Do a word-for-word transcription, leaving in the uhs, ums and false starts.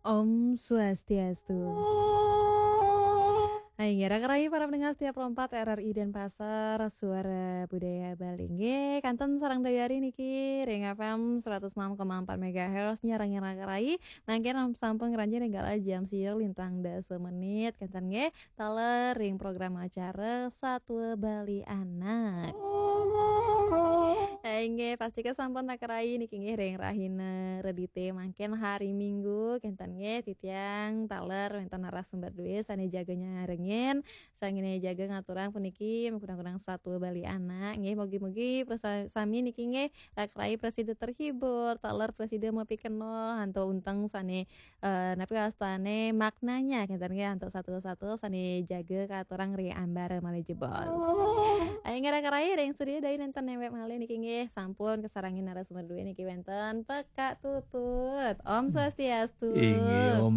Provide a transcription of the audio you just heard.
Om Swastiastu. Hai, nggih, raka rayi para pendengar setia Pro empat R R I Denpasar, Suara Budaya Bali. Nggih, kanten sareng Dayari niki ring F M seratus enam koma empat megahertz nyarengin raka rayi. Mangkin sampun ngranjing ring galah jam siu lintang dasa menit. Kanten nggih, taler ring program acara Satua Bali Anak. Hai, nggih, pastika sampun raka rayi niki nggih ring rahina Redite mangkin hari Minggu, kanten nggih titiang taler wenten narasumber duwe sane jaga nyarengin, sangene jaga ngaturang puniki makudang-kudang Satua Bali Anak. Nggih, mugi-mugi prasa-, sami niki nggih raka rayi prasida terhibur, taler prasida mapikenoh antuk unteng sane, eh, napi wastane maknanya, kanten nggih antuk satua-satua sane jaga katurang ring ambara malih jebos. Ayo nggih raka rayi ring studio Dayari nenten nembek malih niki nggih sampun kasarengin narasumber duwe niki wenten Pekak Tutut. Om Swastiastu. Inggih, Om